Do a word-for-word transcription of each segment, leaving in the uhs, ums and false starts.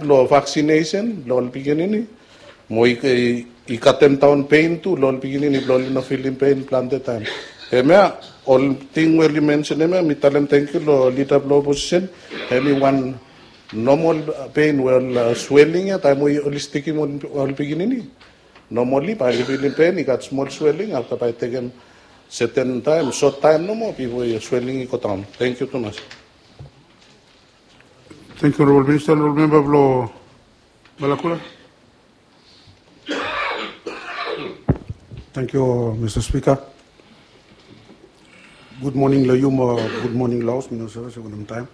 long vaksinesen long ol pikinini, mo i katem daon pen tu long ol pikinini blong ol i no filim pen plante taem. Hemia ol ting we oli mensenem ya, mi talem tangkiu long lida blong oposisen. Hemi wan nomol pen we ol sweling ya taem we oli stikim ol pikinini. Nomoli bae oli filim pen i gat smol sweling afta bae i tekem seten taem, sot taem nomo bifo sweling i godaon. Tangkiu tumas. Tangkiu honorabol minista. Honorabol memba blong Malakula. Tangkiu mista spika. Gud moning long yu mo gud moning long haos, mi no save se wanem taem.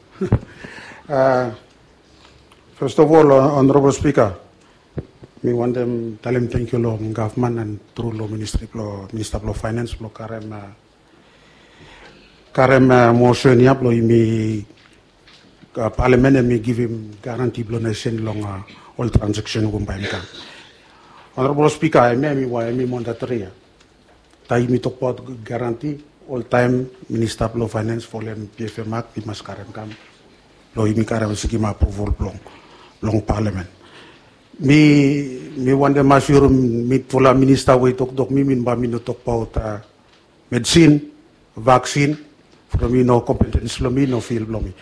Fes of ol, honorabol spika, mi wantem talem tangkiu long gavman and tru long ministri blong minista blong faenens blong karem karem mosen ya blong yumi, palamen hemi givim garanti blong nesen long ol transeksen we bae i kam. Honorabol spika, hemia hemi mandatoria. Taem yumi tokbaot garanti, oltaem minista blong faenens folem PFM akt i mas karem kam blong yumi karem sikim apruval blong palamen. Mi wantem asure mitfala minista we i toktok mi, mi bae mi no tokbaot medisin, vaksin, from i no kompetens blong mi, i no fil blong mi.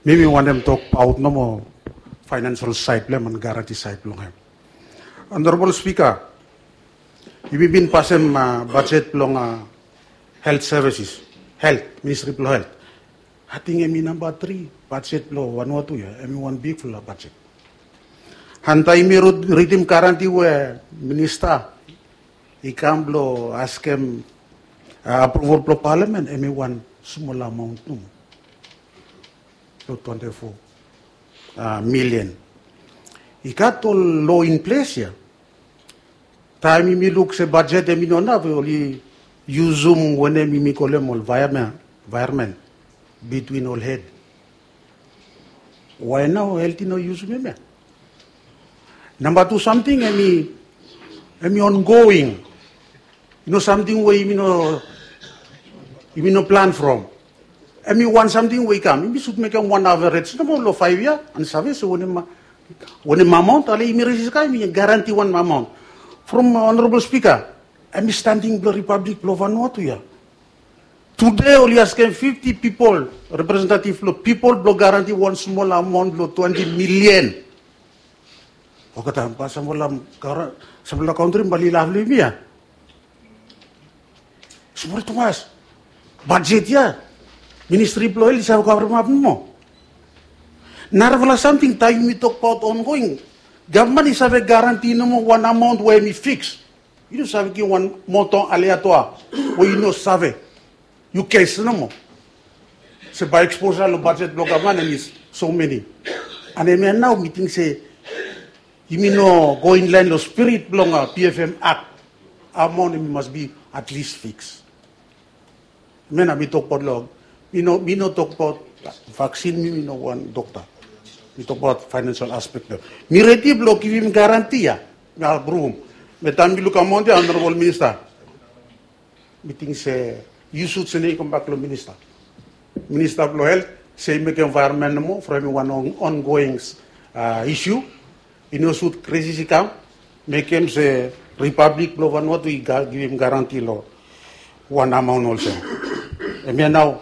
Mi mi wantem tokbaot nomo faenensel saed blong hem and garanti saed blong hem. Honorabol spika, yumi bin pasem bajet blong helt sevises, helt, ministri blong helt. Ating hemi namba tri bajet blong Vanuatu ya, hemi wan bigfala bajet. And taem yumi ridim garanti we minista i kam blong askem apruval blong palamen, hemi wan smol amaon nomo. Long twante fo milian. I gat ol lo in ples ya. Taem yumi luk se bajet hemi no naf, oli yusum wanem yumi kolem ol vaeamen bitwin ol hed. Wae nao helt i no yusum hemia? Namba tu samting hemi ongoing. I no samting we yumi no plan from. Hemi wan samting we i kam, yumi sud mekem wan averej nomo long faev yia and save se wanem amaon ale yumi resis kam, yumi garanti wan amaon. From honorabol spika, hemi standing blong ripablik blong Vanuatu ya. Tude oli askem fifti pipol, representetiv blong pipol blong garanti wan smol amaon blong twante milian. Olgeta bae samfala kaontri bae oli laf long yumi ya. Smol tumas. Bajet ya, ministri blong helt i save kavremap nomo. Narafala samting taem yumi tokbaot ongoing, gavman i save garanti nomo wan amaon we hemi fiks. Yu no save givim wan moto ale ya tu we yu no save. Yu kes nomo. Se bae eksposa long bajet blong gavman hemi so meni. And hemia nao mi ting se yumi no go inlaen long spirit blong PFM akt. Amaon hemi mas bi at least fiks. Hemia nao mi tokbaot long, mi no tokbaot vaksin, mi mi no wan dokta. Mi tokbaot faenensel aspek blong hem. Mi redi blong givim garanti ya. Mi apruv. Be taem mi luk amaon ya, honorabol minista, mi ting se yu sud sene i kambak long minista. Minista blong helt se i mekem envaeronmen nomo from hemi wan ongoing isu. I no sud krisis i kam, mekem se ripablik blong Vanuatu i givim garanti long wan amaon olsem. Hemia nao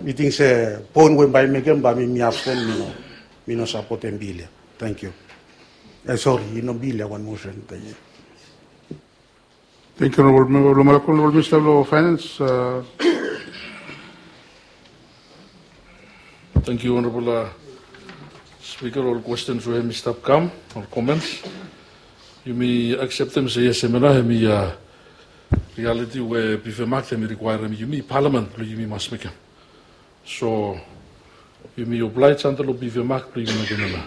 mi ting se poen we bae i mekem bae mi absten, mi no sapotem bil ya. Tangkiu. E sori, i no bil ya, wan mosen. Tangkiu. Tangkiu honorabol memba blong Malakula. Honorabol minista blong faenens. Tangkiu honorabol spika, ol kwestens we hemi stap kam, ol komens. Yumi akseptem se yes, hemia nao hemi rialiti we PFM akt hemi rikwaerem yumi palamen blong yumi mas mekem. So yumi oblaej antap long PFM akt blong yumi mekem hemia.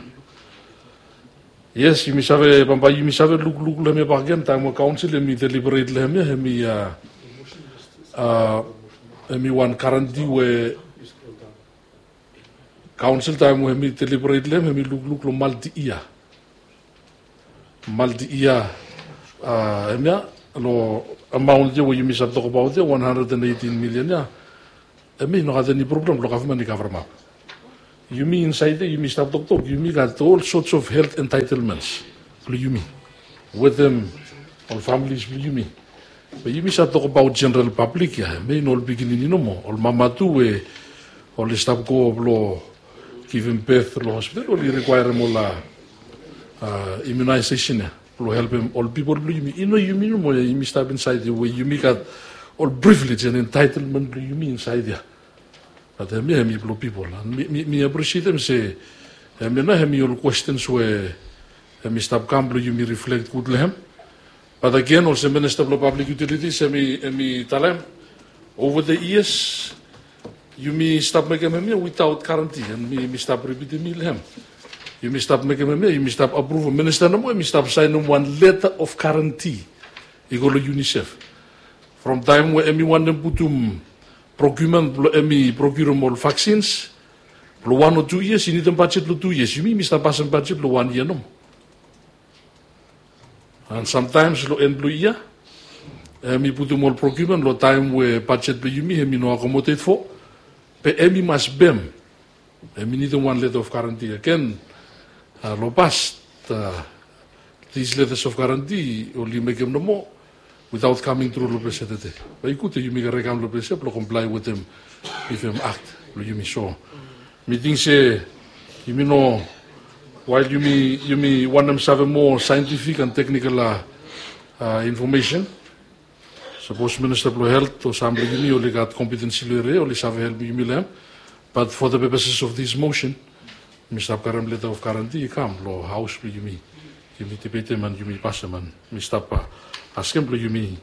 Yes, yumi save bambae yumi save lukluk long hemia bakegen taem we kaonsel hemi deliberet long hemia, hemi wan garanti we kaonsel taem we hemi deliberet long hem hemi lukluk long malti yia. Malti yia. Hemia long amaon ya we yumi save tokbaot ya, wan handred and eitin milian ya. Hemi no gat eni problem blong gavman i kavremap. Yumi insaed ya yumi stap toktok, yumi gat ol sorts of health entitlements blong yumi wetem ol families blong yumi. Be yumi save tokbaot general public ya, hemia i no ol pikinini nomo, ol mama tu we oli stap go blong givim birth long hospital, oli requirem ol immunization ya blong helpem ol pipol blong yumi. I no yumi nomo ya yumi stap insaed ya we yumi gat ol privilege and entitlement blong yumi insaed ya. Bat hemia hemi blong pipol. Mi, mi, mi aprisietem se hemia nao hemi ol questions we hemi stap kam blong yumi reflect gud long hem. Bat agen olsem Minista blong Public Utilities hemi, hemi talem, over the years yumi stap mekem hemia without guarantee, and mi, mi stap ripitim long hem. Yumi stap mekem hemia, yumi stap apruvem, minista nomo hemi stap saenem wan letter of guarantee i go long UNICEF. From taem we hemi wantem putum procurement blong hemi procurem ol vaccines blong wan o tu yias, i nidim bajet long tu yias. Yumi, yumi stap pasem bajet blong wan yia nomo. And sometimes long en blong yia hemi putum ol procurement long taem we bajet blong yumi hemi no accommodate fo, be hemi mas pem. Hemi nidim wan letter of guarantee agen. Long past, these letters of guarantee oli mekem nomo without coming through long ples ya tede. Be i gud we yumi garem i kam long ples ya blong comply wetem PFAM Act blong yumi. So mi ting se yumi no, while yumi, yumi wantem save moa scientific and technical information, sapos Minista blong Helt o sam blong yumi oli gat kompetensi long eria ya, oli save helpem yumi long hem. But for the purposes of this motion, mi stap karem letter of guarantee i kam long Haos blong yumi. Yumi dibetem and yumi pasem, and mi stap askem blong yumi,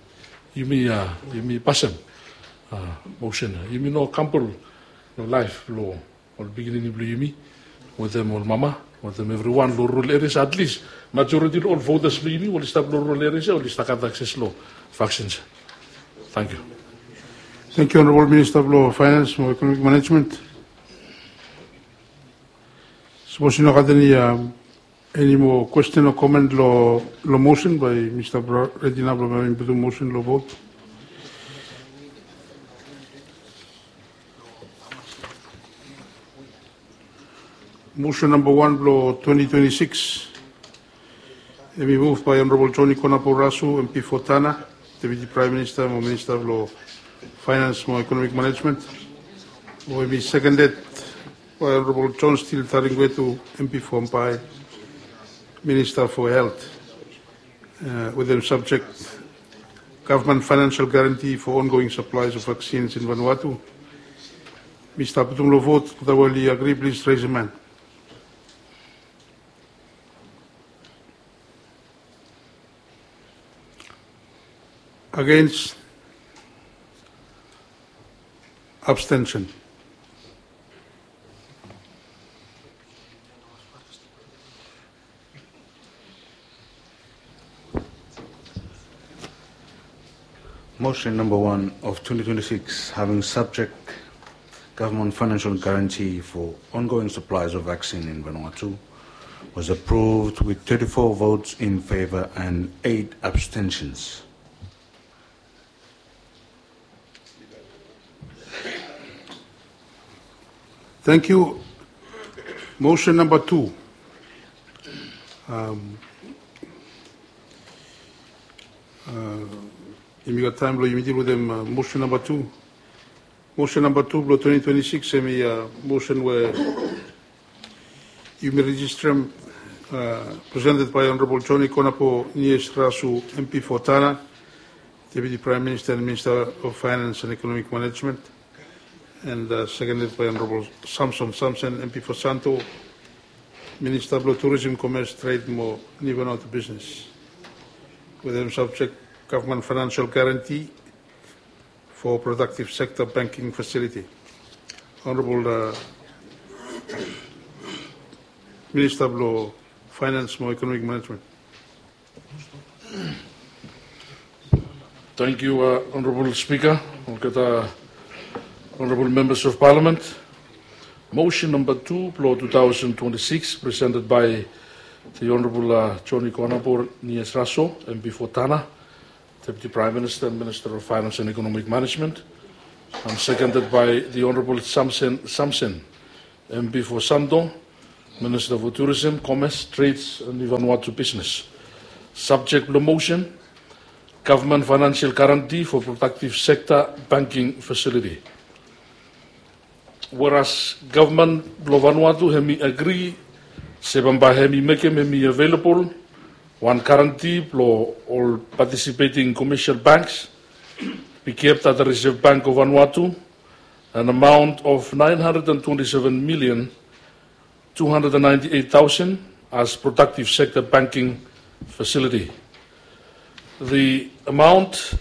yumi, yumi pasem motion ya. Yumi no gamble long laef blong ol pikinini blong yumi wetem ol mama wetem evriwan long rural areas. At least majority long ol voters blong yumi oli stap long rural areas ya, oli stap gat access long vaccines ya. Tangkiu. Tangkiu Honorable Minista blong Finance mo Economic Management. Sapos i no gat eni, eni moa kwesten o komen long, long motion, bae mi stap redi nao blong mi putum motion long vot. Motion namba wan blong twenty twenty-six hemi move by Honorable Joni Konapor Rasu, MP for Tanna, Deputy Prime Minister mo Minister blong Finance mo Economic Management. Mo hemi seconded by Honorable John Steele Taringuetu, MP for Ambae, Minister for Health, wetem subject, government financial guarantee for ongoing supplies of vaccines in Vanuatu. Mi stap putum long vot. Ol we oli agri, plis raise yua han. Against? Abstention? Motion number one of twenty twenty-six, having subject government financial guarantee for ongoing supplies of vaccine in Vanuatu, was approved with thirty-four votes in favor and eight abstentions. Thank you. Motion number two. Um, uh, yumi gat taem blong yumi dil wetem, uh, motion number two. Motion number two blong twenty twenty-six, hemi, uh, motion we yumi rejisterem, uh, presented by Honorable Joni Konapor Nies Rasu, MP for Tanna, Deputy Prime Minister and Minister of Finance and Economic Management, and, uh, seconded by Honorable Samson Samson, MP for Santo, Minister blong Tourism, Commerce, Trade mo Niu Vanuatu Business. Wetem subject, government financial guarantee for productive sector banking facility. Honorable, uh, Minister blong Finance mo Economic Management. Tangkiu, uh, Honorable Speaker. Olgeta honorable members of Parliament. Motion number two blong two thousand twenty-six, presented by the Honorable, uh, Joni Konapor Nies Rasu, MP for Tanna, Deputy Prime Minister and Minister of Finance and Economic Management, and seconded by the Honorable Samson Samson, M P for Santo, Minister for Tourism, Commerce, Trades and Vanuatu Business. Subject blong motion, government financial guarantee for productive sector banking facility. Whereas government blong Vanuatu hemi agree se bambae hemi mekem hemi available wan guarantee blong ol participating commercial banks be kept at the Reserve Bank of Vanuatu, an amount of nine hundred and twenty-seven million two hundred and ninety-eight thousand as productive sector banking facility. The amount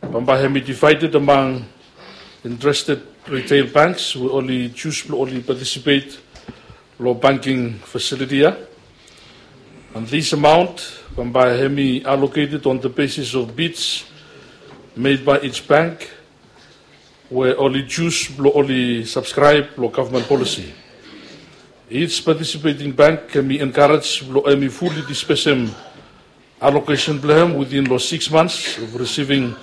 bambae hemi divided among interested retail banks we oli jus blong oli participate long banking facility ia. And this amount bambae hemi allocated on the basis of bids made by each bank we oli jus blong oli subscribe long government policy. Each participating bank hemi encourage blong hemi fully disbursem allocation blong hem within long six months of receiving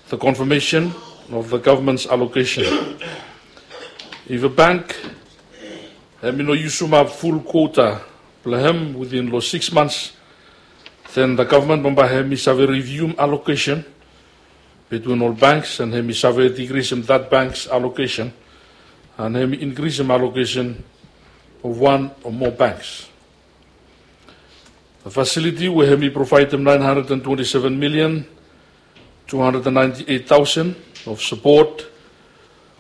the confirmation of the government's allocation. If a bank hemi no yusum ap full quota blong hem within long six months, then the government bambae hemi save review allocation between all banks and hemi save decrease that bank's allocation and hemi increase allocation of one or more banks. The facility we hemi provide nine hundred and twenty-seven million two hundred and ninety-eight thousand of support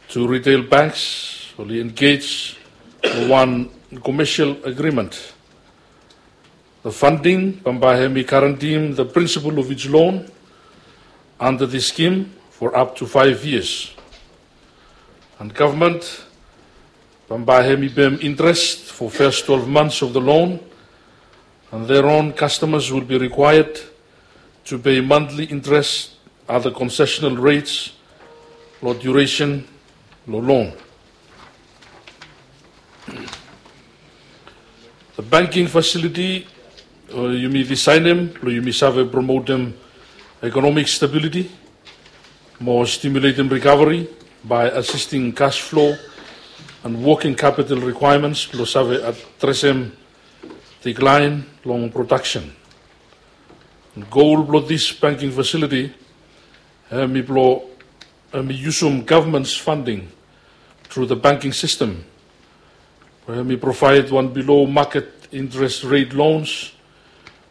to retail banks oli engage long wan commercial agreement. The funding bambae hemi guarantee the principal of each loan under the scheme for up to five years. And government bambae hemi pem interest for first twelve months of the loan, and thereon customers will be required to pay monthly interest at the concessional rates long duration long loan. The banking facility yumi designem blong yumi save promotem economic stability mo stimulatem recovery by assisting cash flow and working capital requirements blong save adresem decline long production. Goal blong this banking facility hemi blong hemi yusum government's funding through the banking system we hemi provide wan below market interest rate loans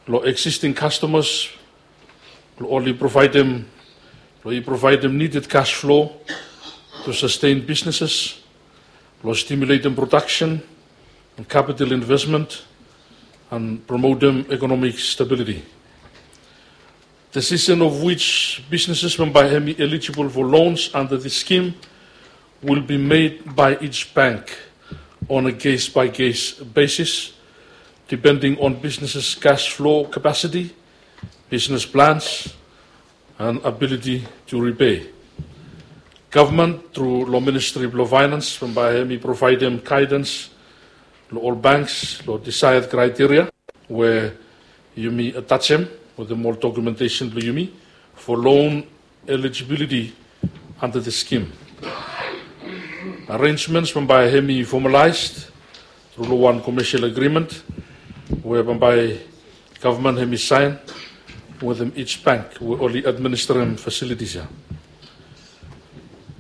long existing customers blong oli providem blong i providem needed cash flow to sustain businesses, blong stimulatem production and capital investment and promotem economic stability. Decision of which businesses bambae hemi eligible for loans under the scheme will be made by each bank on a case by case basis, depending on businesses cash flow capacity, business plans and ability to repay. Government through long Ministry blong Finance bambae hemi providem guidance long ol banks long desired criteria we yumi atajem wetem ol documentation blong yumi for loan eligibility under the scheme. Arrangements bambae hemi formalized through long wan commercial agreement we bambae government hemi sign wetem each bank we oli administerem facilities ia.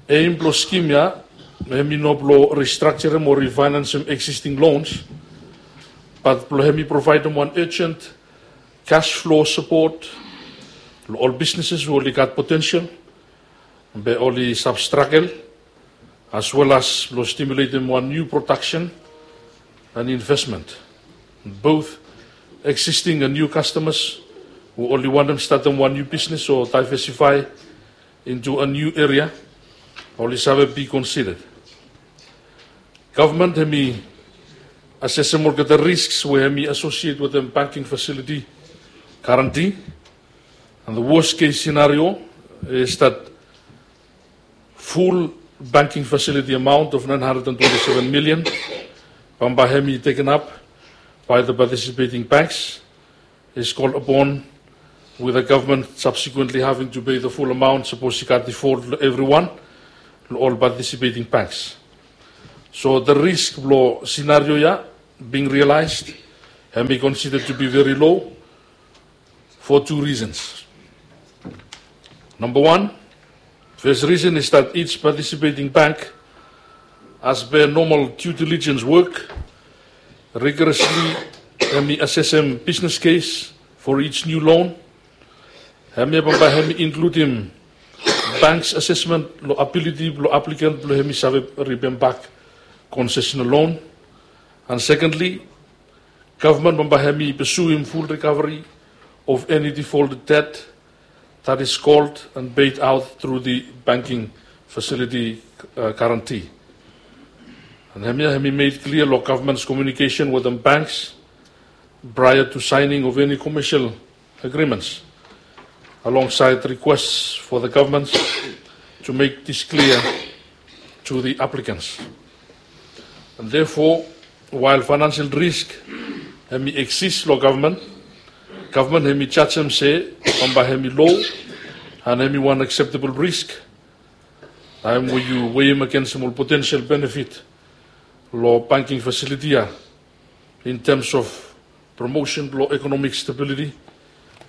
Aim blong scheme ia hemi no blong restructurem o refinancem existing loans, but blong hemi providem wan urgent cash flow support long ol businesses we oli gat potential be oli save struggle, as well as blong stimulatem wan new production and investment. Both existing and new customers we oli wantem statem wan new business o diversify into a new area oli save be considered. Government hemi assessem olgeta risks we hemi associate wetem banking facility guarantee, and the worst case scenario is that full banking facility amount of nine hundred and twenty-seven million bambae hemi taken up by the participating banks is called upon, with the government subsequently having to pay the full amount sapos i gat default long evriwan, long ol participating banks. So the risk blo scenario ia being realized, hemi considered to be very low for two reasons. Number one, first reason is that each participating bank, as per normal due diligence work, rigorously hemi assessem business case for each new loan. Hemia bambae hemi includem banks assessment lo ability blo applicant blo hemi save repay back concessional loan. And secondly, government bambae hemi pursuem full recovery of any defaulted debt that is called and paid out through the banking facility guarantee. And hemia hemi made clear lo government's communication with the banks prior to signing of any commercial agreements, alongside requests for the governments to make this clear to the applicants. And therefore, while financial risk hemi exist lo government, government hemi jajem se bambae hemi low and hemi wan acceptable risk taem we yu weiem agensem ol potential benefit lo banking facility ia in terms of promotion blo economic stability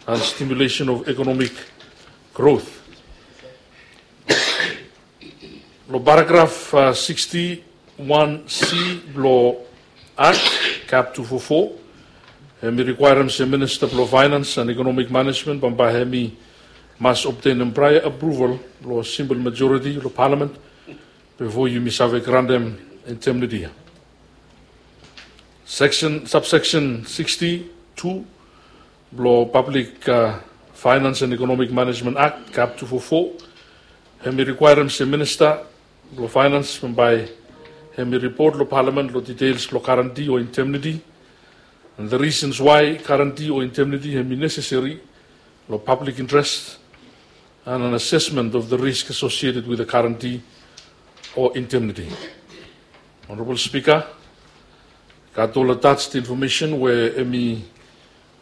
and stimulation of economic growth. Lo paragraf sixty one C blo Act cap two four four, hemi requirem se Minista blo Finance and Economic Management bambae hemi mas obtainem prior approval lo simple majority lo Parliament bifo yumi save grantem indemnity ia. Subsection sixty two blo Public Finance and Economic Management Act cap two four four, hemi requirem se Minista blo Finance bambae hemi ripot lo Parliament lo details blo guarantee o indemnity, and the reasons why guarantee o indemnity hemi necessary lo public interest, and an assessment of the risk associated with the guarantee o indemnity. Honorable Speaker, gat ol attached information we hemi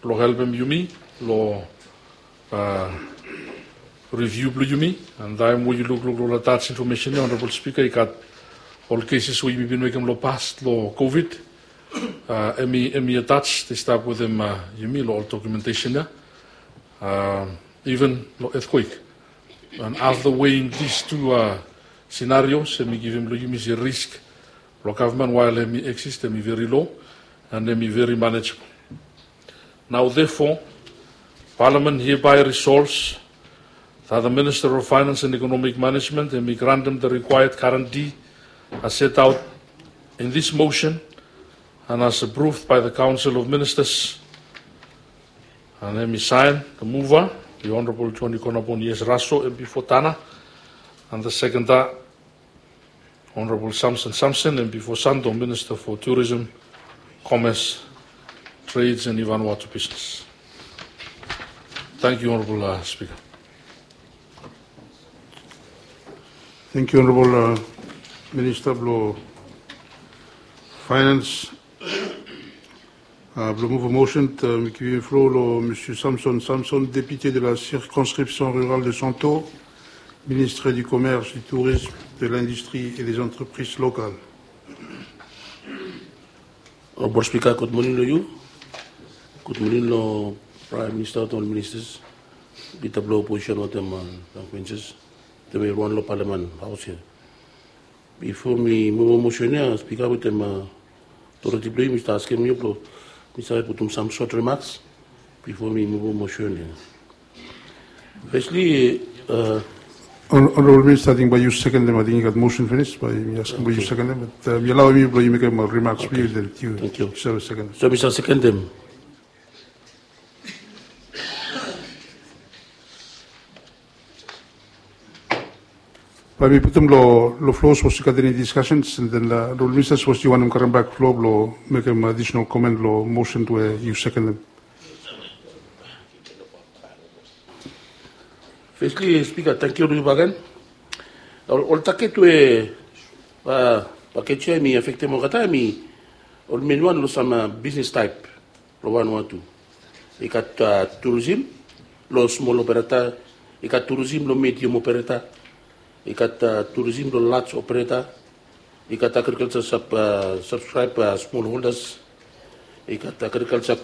blo helpem yumi lo review blo yumi. And taem we yu lukluk lo attached information ia, Honorable Speaker, i gat ol cases we yumi bin mekem lo past lo COVID. Hemi attached, i stap wetem yumi lo ol documentation ia, even lo earthquake. And after weighing these two scenarios, hemi givim lo yumi se risk blo government while hemi exist hemi very low and hemi very manageable. Now therefore, Parliament hereby resolves that the Minister of Finance and Economic Management hemi grantem the required guarantee as set out in this motion and as approved by the Council of Ministers. And hemi sign, the mover, the Honorable John Ikonabon Yes Raso, M P for Tana, and the seconder, Honorable Samson Samson, M P for Santo, Minister for Tourism, Commerce, Trades and Vanuatu Business. Thank you, Honorable Speaker. Thank you, Honorable Minister blo Finance. Blo move motion, mi givim floor lo Monsieur Samson Samson, député de la circonscription rurale de Santo, Ministre du Commerce, du Tourisme, de l'Industrie et des Entreprises locales. Honorable Speaker, gud moning lo yu. Gud moning lo Prime Minister wetem ol ministers, lida blo opposition wetem backbenchers, wetem evriwan lo Parliament haos ia. Bifo mi muv motion ia, Speaker, wetem authority blo yu, mi stap askem yu blo mi save putum sam short remarks bifo mi muv motion ia. Firstly, Honorable Minister, ating bae yu sekenem, ating i gat motion finis, bae mi askem bae yu sekenem, bat mi alaoem yu blo yu mekem remarks blo yu, then yu save sekenem. So mi save sekenem. Bae mi putum lo floor sapos i gat eni discussions, and then Honorable Minister, sapos yu wantem karem bak floor blo mekem additional comment lo motion we yu sekenem. Firstly, Speaker, tangkiu lo yu bakegen. Ol target we package ia hemi afektem olgeta hemi ol main wan lo sam business type lo Vanuatu. I gat tourism lo small operator, i gat tourism lo medium operator, i gat tourism lo large operator, I gat agriculture sub, uh, subscribe, uh, small holders. I gat agriculture